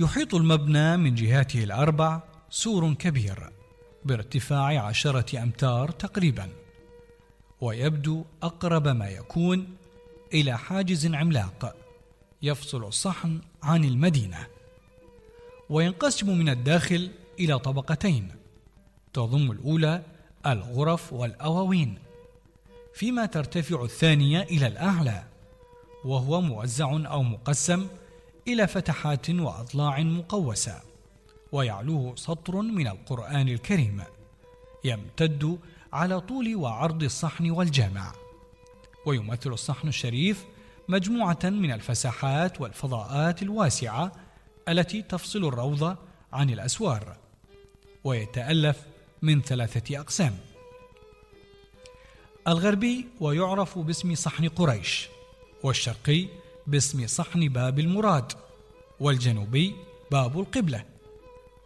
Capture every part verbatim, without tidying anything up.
يحيط المبنى من جهاته الأربع سور كبير بارتفاع عشرة أمتار تقريبا، ويبدو أقرب ما يكون إلى حاجز عملاق يفصل الصحن عن المدينة. وينقسم من الداخل إلى طبقتين تضم الأولى الغرف والأواوين، فيما ترتفع الثانية إلى الأعلى، وهو موزع أو مقسم إلى فتحات وأضلاع مقوسة، ويعلوه سطر من القرآن الكريم يمتد على طول وعرض الصحن والجامع. ويمثل الصحن الشريف مجموعة من الفساحات والفضاءات الواسعة التي تفصل الروضة عن الأسوار، ويتألف من ثلاثة أقسام: الغربي ويعرف باسم صحن قريش، والشرقي باسم صحن باب المراد، والجنوبي باب القبلة.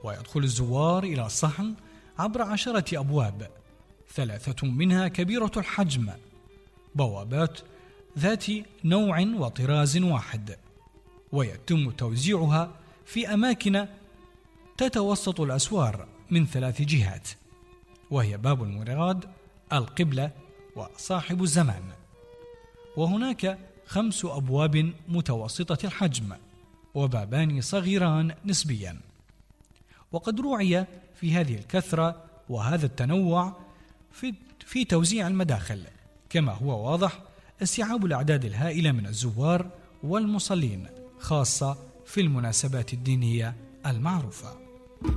ويدخل الزوار إلى الصحن عبر عشرة أبواب، ثلاثة منها كبيرة الحجم، بوابات ذات نوع وطراز واحد، ويتم توزيعها في أماكن تتوسط الأسوار من ثلاث جهات، وهي باب المراد، القبلة، وصاحب الزمان. وهناك خمس أبواب متوسطة الحجم وبابان صغيران نسبيا. وقد روعي في هذه الكثرة وهذا التنوع في, في توزيع المداخل، كما هو واضح استيعاب الأعداد الهائلة من الزوار والمصلين، خاصة في المناسبات الدينية المعروفة.